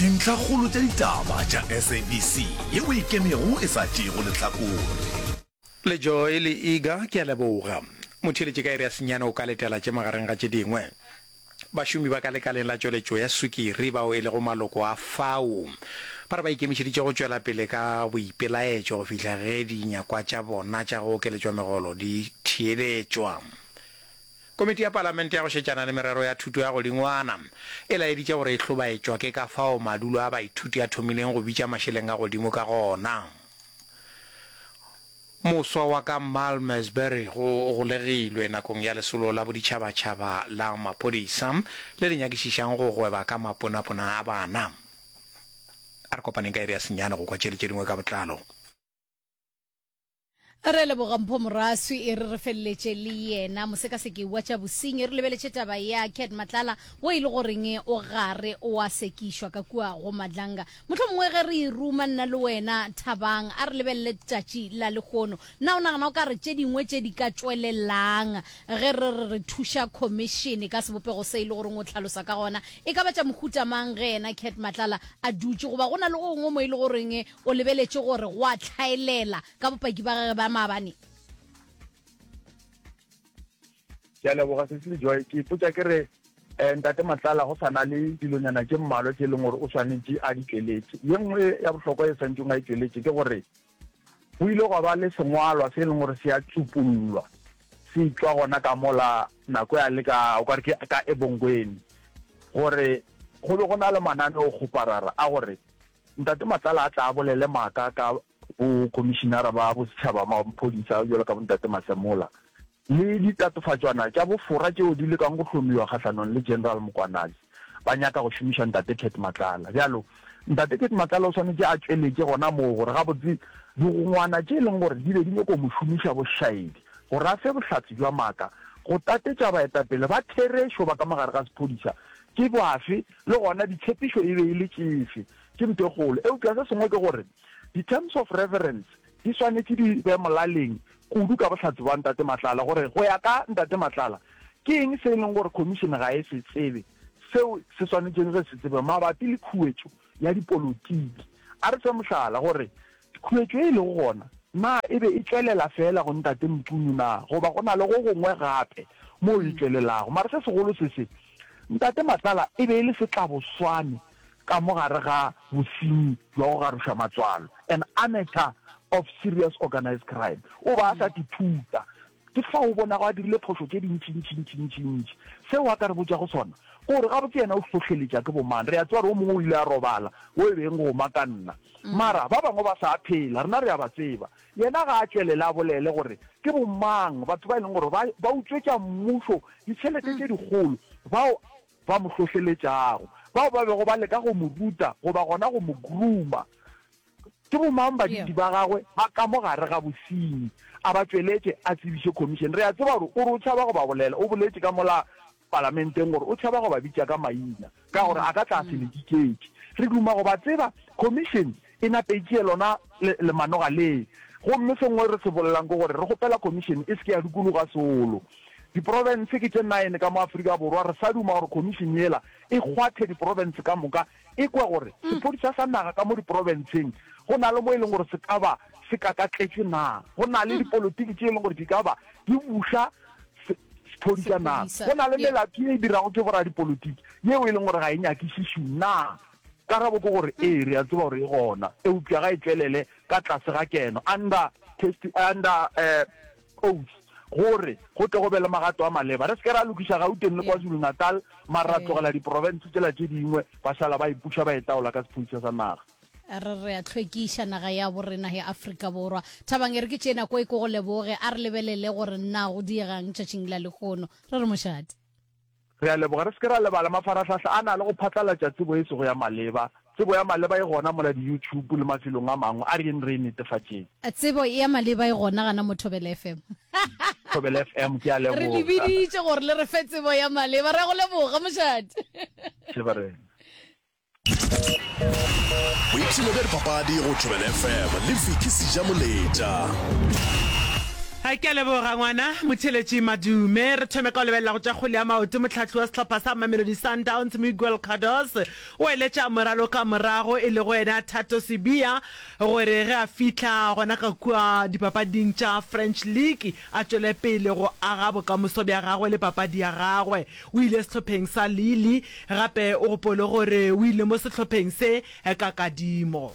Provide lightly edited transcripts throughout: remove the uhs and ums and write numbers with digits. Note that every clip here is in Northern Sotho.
Dintlhakgolo tša ditaba tša SABC yeo e ikemego e sa tšeego lehlakore. Le Joy le Iga, ke a leboga. Motheeletši ka iri ya senyane o ka letela tše magareng ga tše dingwe. Bašomi ba ka lekaleng la tšweletšo ya sukiri bao e lego maloko a fao ba re ba ikemišeditše go tšwela pele ka boipelaetšo go fihla ge dinyakwa tša bona tša go okeletšwa megolo di theeletšwa. Komiti ya Palamente ya go šetšana le merero ya thuto ya godingwana e laeditše gore e hlobaetšwa ke ka fao madulo a baithuti a thomileng go bitša mašeleng a godimo ka gona. Moswa wa ka Malmesbury go golegilwe nakong ya lesolo la boditšhabatšhaba la maphodisa le le nyakišišang go gweba ka maponapona a bana. A re kopaneng ka iri ya senyane go kwa tše le tše dingwe ka botlalo. Re leboga Mpho Moraswi e re re feleletše le yena mosekaseki wa tša bosenyi. Re lebeletše taba ya Cat Matlala wo e le goreng o gare o a sekišwa ka kua go Madlanga. Mohlomongwe ge re e ruma nna le wena Thabang a re lebelele tšatši la lehono. Na o nagana o ka re tše dingwe tše di ka tšwelelang ge re re re thuša khomišene ka sebopego se e le goreng o hlalosa ka gona e ka ba tša mohuta mang ge yena Cat Matlala a dutše goba go na le go gongwe mo e le goreng O lebeletše gore go a hlaelela ka bopaki ba gagwe ba maabane. Ke a leboga Cecily Joy. Ke ipotša ke re eh, Ntate Matlala go sa na le dilonyana tše mmalwa tše e leng gore o swanetše a di tšweletše. Ye nngwe ya bohlokwa e swanetšeng a e tšweletše ke gore go ile gwa ba le sengwalwa se e leng gore se a tsupullwa se tšwa gona ka mola nako ya le ka o ka re ke ka Ebongweni gore go be go na le mananeokgoparara a gore Ntate Matlala a tla a bolele maaka ka bo Khomišinara ba Bosetšhaba ba Maphodisa bjalo ka bo Ntate Masemola le ditatofatšwana tša bofora tšeo di lekang go hlomiwa kgahlanong le General Mkwanazi ba nyaka go šomiša Ntate Cat Matlala. Bjalo Ntate Cat Matlala o swanetše a tšweletše gona moo gore gabotse digongwana tše e leng gore di be di nyako mo šomiša bošaedi gore a fe bohlatse bja maaka go tatetša baetapele ba therešo ba ka mo gare ga sephodisa Ke bafe, le gona ditshepišo e be e le tšefe? Ke ntho e kgolo. Eupša se sengwe ke gore di-terms of reference di swanetše di be molaleng kudu ka bohlatse bja Ntate Matlala gore go ya ka Ntate Matlala ke eng se e leng gore Khomišene ga e se tsebe seo se swanetšeng ge se tsebe mabapi le khuetšo ya dipolotiki. A re fe mohlala gore Khuetšo ye e lego gona, na e be e tšwelela feela go Ntate Mchunu na, goba go na le go gongwe gape moo e tšwelelago? Mara se segolo se se, Ntate Matlala e be e le setlaboswane ka mo gare ga bosenyi bja go garoša matswalo, an amateur of serious organised crime. O ba a sa tithuta. Ke fao o bonago a dirile phošo tše dintši-ntši-ntši-ntši-ntši. Seo a ka re botšago sona ke gore gabotse yena o hlohleletša ke bomang. Re a tseba gore o mongwe o ile a robala, wo e beng go Makanna. Mara ba bangwe ba sa phela, rena re a ba tseba. Yena ga a tšwelele a bolele gore ke bomang batho ba e leng gore ba, ba utswetša mmušo ditšhelete tše dikgolo, bao ba mo hlohleletšago, bao ba bego ba leka go mo ruta goba gona go mo grooma. Ke bomang badudi ba gagwe ba ka mo gare ga bosenyi? A ba tšweletše a tsebiše khomišene. Re a tseba gore o re o tšhaba go ba bolela. O boletše ka mola palamenteng gore o tšhaba go ba bitša ka maina ka gore a ka tla a se le diketše. Re duma go ba tseba. Khomišene e nape e tšee lona lemanoga le. Gomme se nngwe re se bolelang ke gore re kgopela khomišene e se ke ya dikologa seolo. Diprofense ke tše nine ka mo Afrika Borwa. Re sa duma gore khomišene yela e kgwathe diprofense ka moka E kwe gore sephodisa sa naga ka mo diprofenseng go na le mo e leng gore se ka ba se kakatletšwe na? Go na le dipolotiki tše e leng gore di ka ba di buša sephodisa na? Go na le melato ye e dirago ke boradipolotiki yeo e leng gore ga e nyakišišwe na? Karabo ke gore ee, re a tseba gore e gona, eupša ga e tšwelele ka tlase ga keno, under testi, under eh, oath, gore go tle go be le magato a maleba. Re se ke ra lokiša Gauteng le KwaZulu-Natal, mara ra tlogela diprofense tšela tše dingwe ba šala ba ipuša ba itaola ka sephodisa sa naga. Re re a hlwekiša naga ya borena ya Afrika Borwa. Thabang e re ke tšee nako e ke go leboge, a re lebelele gore na go diegang tšatšing la lehono. Re re mošate. Re a leboga. Re se ke ra lebala, mafarahlahla a na le go phatlalatša tsebo e sego ya maleba. Tsebo ya maleba e gona mola di-YouTube le mafelong a mangwe. A re yeng re e netefatšeng. Tsebo ya maleba e gona gana mo Thobela FM. Thobela FM, ke a Re le leboga. biditše gore le re fe tsebo ya maleba. Re a go leboga, mošate. Šebarena. Boipshino bja dipapadi go Thobela FM le Vicky Sejamoletša. Ke a leboga ngwana motheeletši Madume. Re thome ka go lebelela go tša kgwele ya maoto. Mohlahli wa sehlopha sa Mamelodi Sundowns Miguel Cardoso o eletša moraloka morago e lego yena Thato Sibiya gore ge a fihla gona ka kua dipapading tša French League a tšwele pele go aga bokamoso bja gagwe le papadi ya gagwe. O ile sehlopheng sa Lille gape o gopole gore o ile mo sehlopheng se ka kadimo.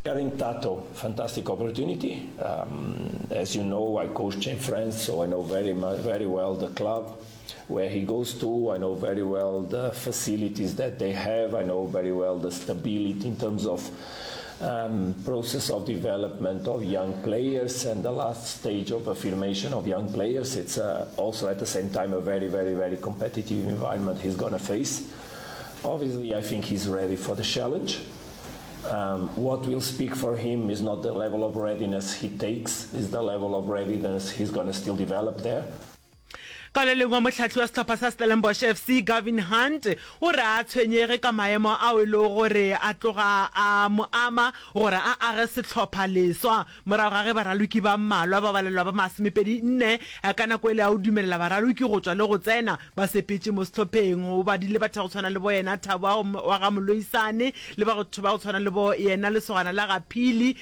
Having Thato, fantastic opportunity. Um, as you know, I coach in France, so I know very very well the club where he goes to. I know very well the facilities that they have. I know very well the stability in terms of um, process of development of young players and the last stage of affirmation of young players. It's uh, also at the same time a very, very, very competitive environment he's going to face. Obviously, I think he's ready for the challenge. Um, what will speak for him is not the level of readiness he takes, is the level of readiness he's going to still develop there. Ka le lengwe, mohlahli wa sehlopha sa Stellenbosch FC, Gavin Hunt, o re a tshwenyege ka maemo ao e lego gore a tloga a mo ama gore a age sehlopha leswa morago ga ge baraloki ba mmalwa ba balelwa ba masomepedi nne ka nako ele ya go dumelela baraloki go tšwa le go tsena Ba sepetše mo sehlopheng, o badile batho ba go tshwana le bo yena Thabo wa ga Moloisane, le batho ba go tshwana le bo yena lesogana la ga Phili,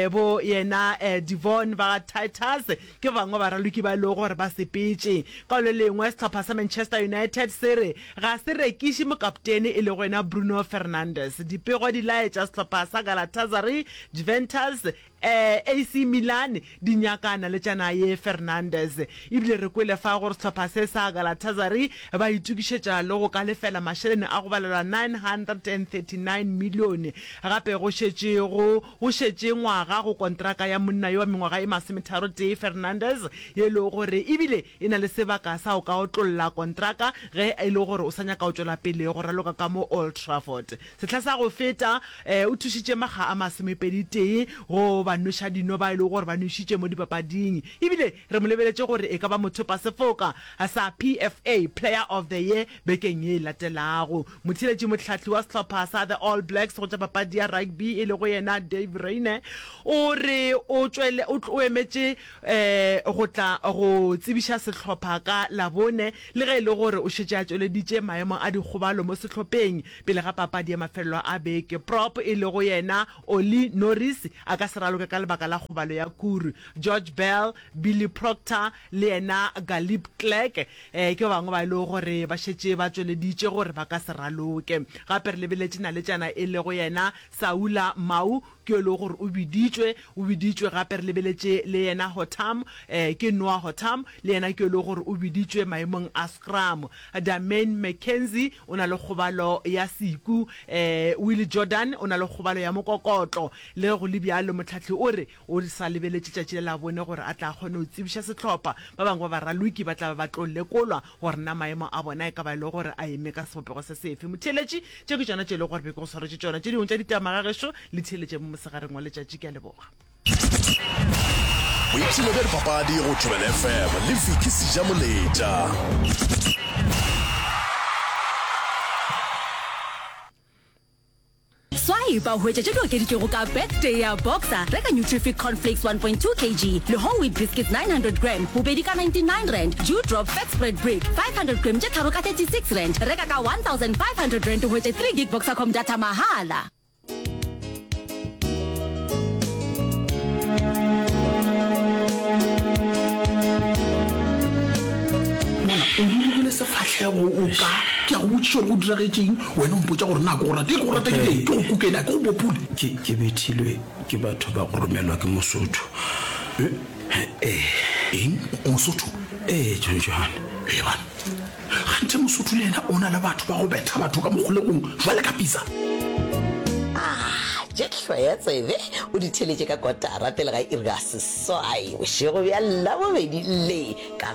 bo yena Devon ba ga Titus, ke ba bangwe ba baraloki ba e lego gore ba sepetše. Ka le lengwe, sehlopha sa Manchester United se re ga se rekiše mokaptene e lego yena Bruno Fernandes. Dipego di laetša sehlopha sa Galatasaray, Juventus, AC Milan di nyaka naletšana ye Fernandes. Ebile re kwele fa gore sehlopha se sa Galatasaray ba itokišetša le go ka lefela mašeleni a go balelwa 939 milione. Gape go šetše go go šetše ngwaga go kontraka ya monna yo wa mengwaga e masometharotee Fernandes ye e lego gore ebile e na le sebaka sa go ka otlolla kontraka ge e le gore o sa nyaka go tšwela pele go raloka ka mo Old Trafford. Sehla sa go feta, o thušitše makga a masomepedi-tee go ba nweša dino ba e lego gore ba nwešitše mo dipapading. Ebile re mo lebeletše gore e ka ba mothopasefoka sa PFA Player of the Year bekeng ye e latelago. Motheeletši mohlahli wa sehlopha sa The All Blacks go tša papadi ya rugby e lego yena Dave Rayner o re o tšwele o emetše go tla go tsebiša sehlopha ka Labone le ge e le gore o šetše a tšweleditše maemo a dikgobalo mo sehlopheng Pele ga papadi ya mafelelo a beke, prop e lego yena Ollie Norris a ka se raloke ka lebaka la kgobalo ya kuru. George Bell, Billy Proctor le yena Galip Clegg ke ba bangwe ba e lego gore ba šetše ba tšweleditše gore ba ka se raloke. Gape re lebeletše naletšana e lego yena Saula Mau ke yo e lego gore o biditšwe, o biditšwe gape re lebeletše le yena Hotham, ke Noah Hotham, le yena ke yo e lego gore o biditšwe maemong a scrum. Damain McKenzie o na le kgobalo ya seku, Willie Jordan o na le kgobalo ya mokokotlo. Le ge go le bjalo, mohlahli o re o sa lebeletše tšatši la Labone gore a tla kgone go tsebiša sehlopha. Ba bangwe ba baraloki ba tla ba ba tlo lekolwa gore na maemo a bona e ka ba e le gore a eme ka sebopego se sefe. Motheeletši, tše ke tšona tše e lego gore be ke go swaretše tšona. Tše dingwe tša ditaba ga gešo le theeletše mo mosegareng wa letšatši. Ke a leboga. Boipshino bja dipapadi go Thobela FM le Vicky Sejamoletša. Swipe o hwetše tše di okeditšwego ka Birthday ya Boxer. Reka Nutrific Cornflakes 1.2 kg le Whole Wheat Biscuits 900 gram bobedi ka R99, Dew Drop Fat Spread Brick 500 gram tše tharo ka R36. Reka ka R1500 o hwetše 3 gig Boxercom data mahala. Mona o rurugile sefahlego o ka ke a go botšiša gore go diragetšeng wena o mpotša gore na ke go rata ke go rata ke teng ke go kukena ke go bopule Ke, ke bethilwe ke batho ba go romelwa ke Mosotho. Ee. Eng? Mosotho? Ee, John John. Ee, bana. Kganthe Mosotho le yena o na le batho ba go betha batho ka mokgolegong jwale ka pizza. Ah, tše hloya tsebe o di theletše ka kotara pele ga iri ya seswai bošego bja Labobedi le ka.